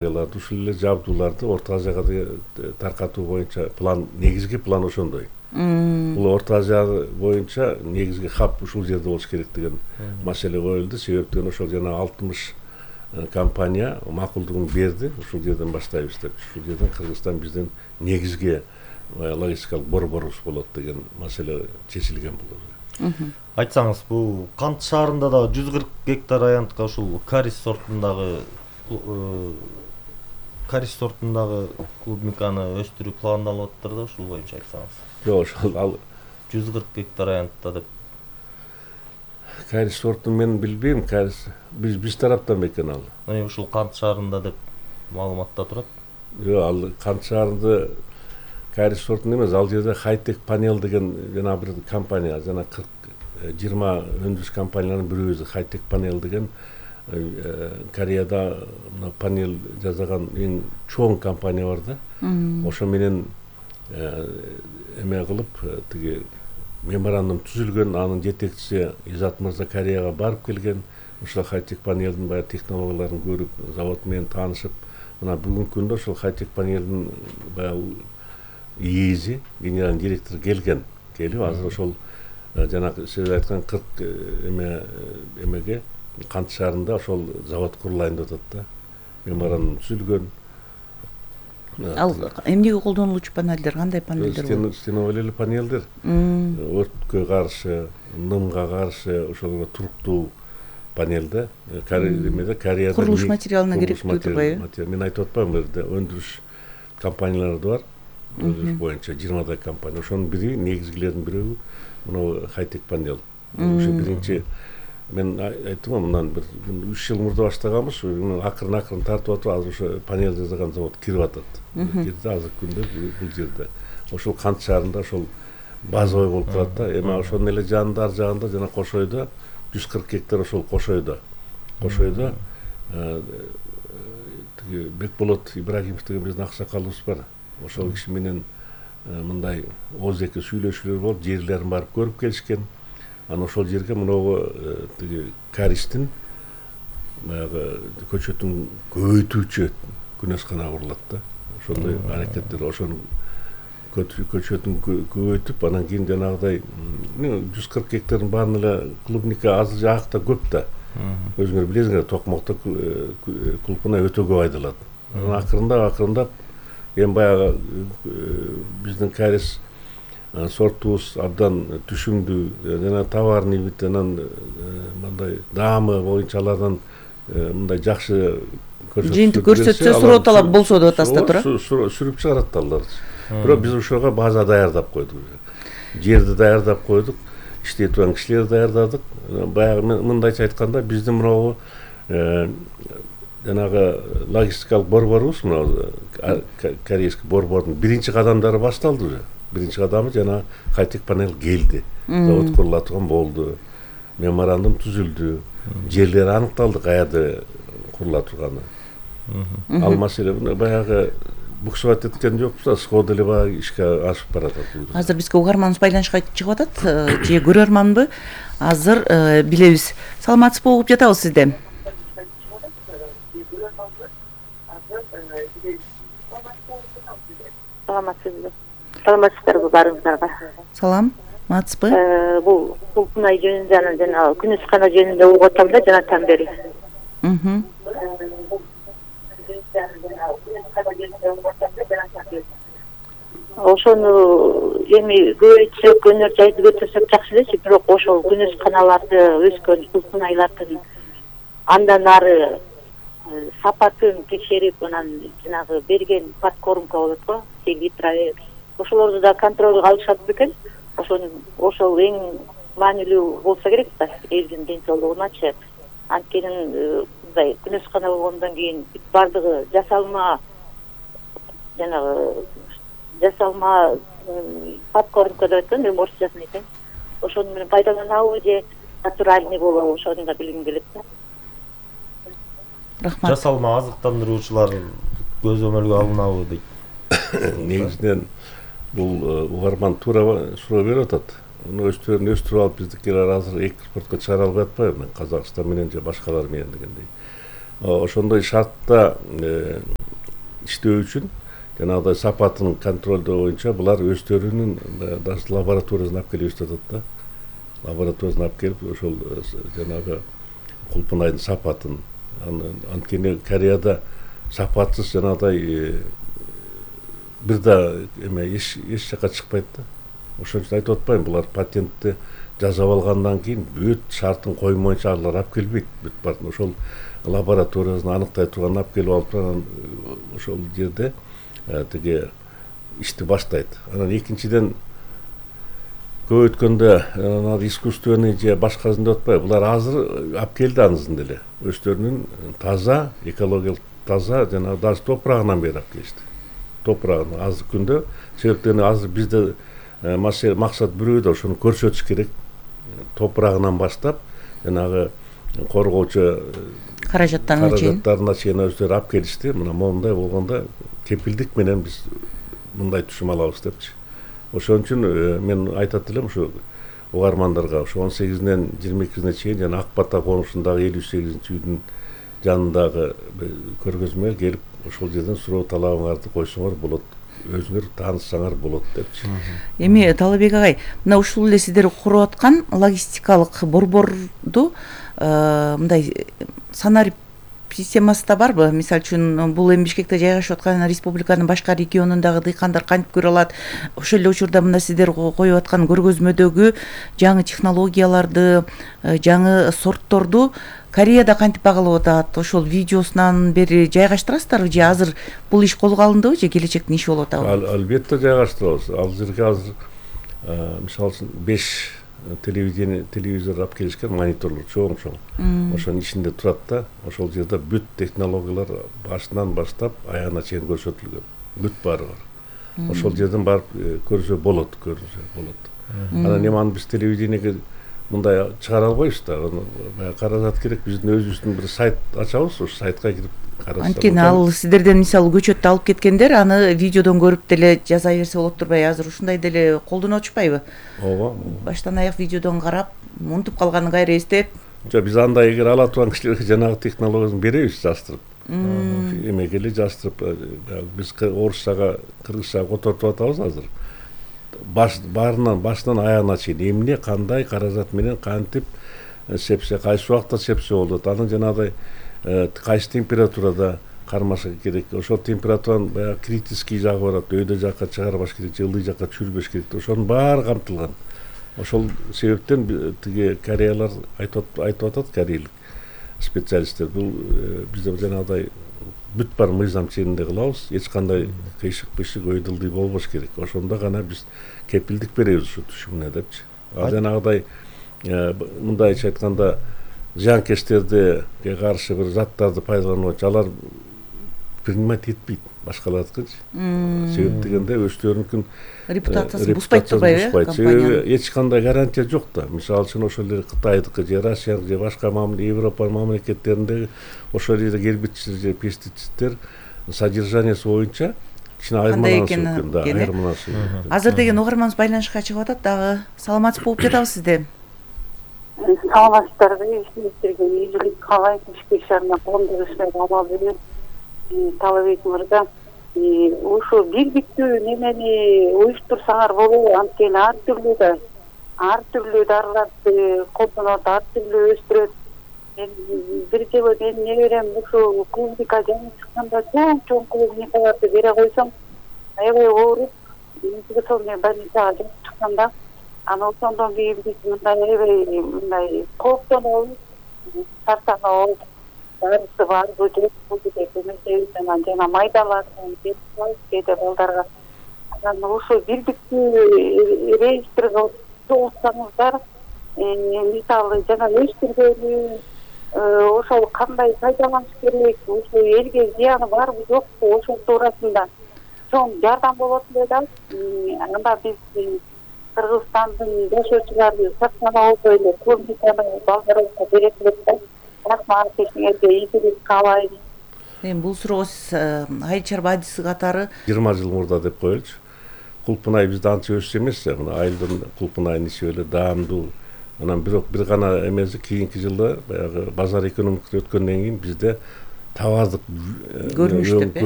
Ушул эле жабдууларды Орто Азияга таркатуу боюнча негизги план ошондой. Бул Орто Азия боюнча негизги хаб ушул жерде болуш керек деген маселе коюлду. Себептен ошол жана 60 компания макулдугун берди. Ушул жерден баштайбыз деп. Ушул жерден Кыргызстан бизден негизги логистикалык борборубуз болот деген маселе чечилген болду. Айтсаңыз, бул Кант шаарында да 140 гектар аянтка ушул карис сортундагы клубниканы өстүрүү пландалып атыптыр да, ушул боюнча айтсаңыз. Жок, ошол ал 140 гектар аянтта деп. Карис сортун мен билбейм, карис биз тараптан бекен ал. Ушул Кант шаарында деп маалыматта турат. Жок, ал Кант шаарында карис сортун эмес, ал жерде Хайтек панел деген жана бир компания, жана 20 өндүрүш компанияларынын бирөөбүз Хайтек панел деген Кореяда панел жасаган эң чоң компания бар да. Ошо менен эме кылып тиги меморандум түзүлгөн, анын жетекчиси Изат мырза Кореяга барып келген. Ошол Хайтек панелдин баягы технологияларын көрүп, завод менен таанышып, мына бүгүнкү күндө ошол Хайтек панелдин баягы ээси, генеральный директор келип азыр ошол жанагы сиз айткан 40 эмеге Кант шаарында ошол завод курулайын деп атат да. Меморандум түзүлгөн. Ал эмнеге колдонулуучу панелдер, кандай панелдер болот? Стеновый панелдер. Өрткө каршы, нымга каршы, ошолго туруктуу панелде. Кореяда курулуш материалына керектүү турбайбы? Мен айтып атпаймынбы, жерде өндүрүш компаниялары бар. Өндүрүш боюнча 20 компания. Ошонун бири, негизгилердин бирөө мына Хайтек панел. Ошо биринчи мен айттым, мындан бир 3 жыл мурда баштаганбыз, акырын тартып атып, азыр ошо панел жасаган завод кирип атат. Кирди азыркы күндө бул жерде. Ошол Кант шаарында ошол базовый болуп калат да. Эми ошонун эле жанында, ар жагында жана Кошойдо 140 гектар ошол Кошойдо тиги Бекболот Ибрагимов деген биздин аксакалыбыз бар. Ошол киши менен мындай ооз-эки сүйлөшүүлөр болуп, жерлерин барып көрүп келишкен. Анан ошол жерге мынагу тиги каристин баягы көчөтүн көбөйтүүчү күнөскана курулат да. Ошондой аракеттер, ошону көчөтүн көбөйтүп, анан кийин жанагыдай 140 гектардын баарын эле клубника азыр жакта көп да. Өзүңөр билесиңер, Токмокто клубуна өтө көп айдалат. Анан акырындап эми баягы биздин карис сортубуз абдан түшүмдүү, жана товарный вид, анан мындай даамы боюнча алардан мындай жакшы жыйынтык көрсөтсө, суроо талап болсо деп атасыз да, туура? Сүрүп чыгарат алар. Бирок биз ошого база даярдап койдук. Жерди даярдап койдук, иштей турган кишилерди даярдадык. Баягы мындайча айтканда, биздин мынагу жанагы логистикалык борборубуз, мына корейский борбордун биринчи кадамдары башталды уже. Биринчи кадамы жана Хайтек панел келди. Завод курула турган болду. Меморандум түзүлдү. Жерлери аныкталды, каерде курула турганы. Ал маселе баягы буксовать эткен жокпуз да, сходу эле баягы ишке ашып баратат. Азыр бизге угарманыбыз байланышка чыгып атат, же көрөрманбы? Азыр билебиз. Саламатсызбы, угуп жатабыз сизди. Саламатсыздарбы баарыңыздарга? Саламатсызбы? Бул Кулпунай жөнүндө жана күнөскана жөнүндө угуп атам да жанатан бери. Ошону эми көбөйтсөк, өнөр жайды көтөрсөк жакшы элечи, бирок ошол күнөсканаларды өскөн Кулпунайлардын андан ары сапатын текшерип, анан жанагы берген подкормка болот го, сегитраве. Ошолорду да контролго алышат бекен. Ошол эң маанилүү болсо керек да, элдин ден соолугуначы. Анткени мындай күнөскана болгондон кийин бардыгы жасалма подкормка деп айткан, эми орусчасын айтайын. Ошону менен пайдаланабы же натуральный болобу, ошону да билгим келет да. Рахмат. Жасалма азыктандыруучулар көзөмөлгө алынабы дейт. Негизинен бул угарман туура суроо берип атат. Муну өстүрүп алып биздикилер азыр экспортко чыгара албай атпайбы? Казакстан менен же башкалар менен дегендей. ошондой шартта иштөө үчүн жанагыдай сапатын контролдоо боюнча булар өздөрүнүн даже лабораториясын алып келип өстүп атат да. Лабораториясын алып келип ошол жанагы кулпунайдын сапатын, анткени Кореяда сапатсыз жанагыдай бир да эме эч жака чыкпайт да. Ошон үчүн айтып атпайм, булар патентти жасап алгандан кийин бүт шартын коймоюнча алар алып келбейт. Бүт баарын ошол лабораториясын аныктай турган алып келип алып анан ошол жерде тиги ишти баштайт. Анан экинчиден көп өткөндө искусственный же башкасын деп атпайбы, булар азыр алып келди анысын деле. Өздөрүнүн таза, экологиялык таза жана даже топурагынан бери алып келишти. Топурагын азыркы күндө, себептен азыр бизде максат бирөө да ошону көрсөтүш керек. Топурагынан баштап жанагы коргоочу каражаттарына чейин өздөрү алып келишти. Мына моундай болгондо кепилдик менен биз мындай түшүм алабыз депчи. Ошон үчүн мен айтат элем ушу угармандарга, ушу 18-нен 22-сине чейин жана Ак Бата конушундагы 58-үйдүн жанындагы көргөзмөгө келип, ошол жерден суроо талабыңарды койсоңор болот, өзүңөр тааныссаңар болот депчи. Эми Талабек агай, мына ушул эле сиздер куруп аткан логистикалык борборду мындай санарип системасы да барбы? Мисалы үчүн бул эми Бишкекте жайгашып аткан республиканын башка регионундагы дыйкандар кантип көрө алат? Ошол эле учурда мына сиздер коюп аткан көргөзмөдөгү жаңы технологияларды, жаңы сортторду Кореяда кантип багалап атат? Ошол видеосунан бери жайгаштырасыздарбы же азыр бул иш колго алындыбы же келечектин иши болуп атабы? Албетте жайгаштырабыз. Ал жерге азыр мисалы үчүн 5 телевизор алып келишкен, мониторлор чоң. Ошонун ичинде турат да, ошол жерде бүт технологиялар башынан баштап аягына чейин көрсөтүлгөн. Бүт баары бар. Ошол жерден барып көрсө болот. Анан эми аны биз телевидениеге мындай чыгара албайбыз да. Каражат керек, биздин өзүбүздүн бир сайт ачабыз, ошол сайтка кирип карасак. Анткени ал сиздерден мисалы көчөттү алып кеткендер аны видеодон көрүп деле жаза берсе болот турбайбы? Азыр ушундай деле колдонуп атышпайбы? Ооба. Баштан аяк видеодон карап, унутуп калганын кайра эстеп. Жок, биз андай эгер ала турган кишилерге жанагы технологиясын беребиз жаштырып. Эмегели жаштырып, биз орусчага, кыргызчага которуп атабыз азыр. Башынан аягына чейин эмне, кандай каражат менен кантип сепсе, кайсы убакта сепсе болот. Анын жанагыдай кайсы температурада кармашы керек. Ошол температуранын баягы критический жагы барат. Өйдө жакка чыгарбаш керек, же ылдый жакка түшүрбөш керек. Ошонун баары камтылган. Ошол себептен тиги кореялар айтып атат, корейлик специалисттер. Бул бизде жанагыдай бүт бар мыйзам чегинде кылабыз. Эч кандай кыйшык-пыйшык өйдөлдүй болбош керек. Ошондо гана биз кепилдик беребиз ушу түшүмүнө депчи. Ал жанагыдай мындайча айтканда зыянкечтерди каршы бир заттарды пайдаланып, алар принимать этпейт башкалардыкынчы. Себеп дегенде өздөрүнүн репутациясын бузбайт турбайбы компания? Эч кандай гарантия жок да. Мисалы үчүн ошол эле Кытайдыкы же Россияныкы же башка Европа мамлекеттериндеги ошол жерде гербицид же пестициддер содержаниясы боюнча кичине айырмаланышы мүмкүн да, айырмаланышы мүмкүн. Азыр деген угарманыбыз байланышка чыгып атат дагы. Саламатсыз болуп жатабыз Саламатсыздарбы, ишиңиздерге ийгилик каалайм. Бишкек шаарына коомдук иштер абал берет. Талабек мырза, ушу бирдиктүү немени уюштурсаңар болобу? Анткени ар түрдүү дарыларды колдонот, ар түрдүү өстүрөт. Бир жолу менин неберем ушу клубника жаңы чыкканда чоң клубникаларды бере койсом, аябай ооруп, инфекционный больницага жатып чыкканда, аны ошондон кийин биз мындай кооптонобуз, тартанабыз. Дарысы барбы жокпу деп эметебиз, анан жана майдаларын берип коебуз кээде балдарга. Анан ушу бирдиктүү реестрге чогултсаңыздар, мисалы жана өстүргөнү, ошол кандай пайдаланыш керек, ушу элге зыяны барбы жокпу, ошол туурасында чоң жардам болот эле да. Анда биз Кыргызстандын жашоочулары сактанып эле клубниканы балдарыбызга берет элек да. Рахмат, ишиңерге ийгилик каалайм. Эми бул суроого сиз айыл чарба адиси катары 20 жыл мурда деп коелучу. Кулпунай бизде анча өссө эмес, мына айылдын кулпунайын иши эле даамдуу. Анан бирок бир гана эмеси кийинки жылда баягы базар экономикасы өткөндөн кийин бизде табаздык Көрүнүш деп,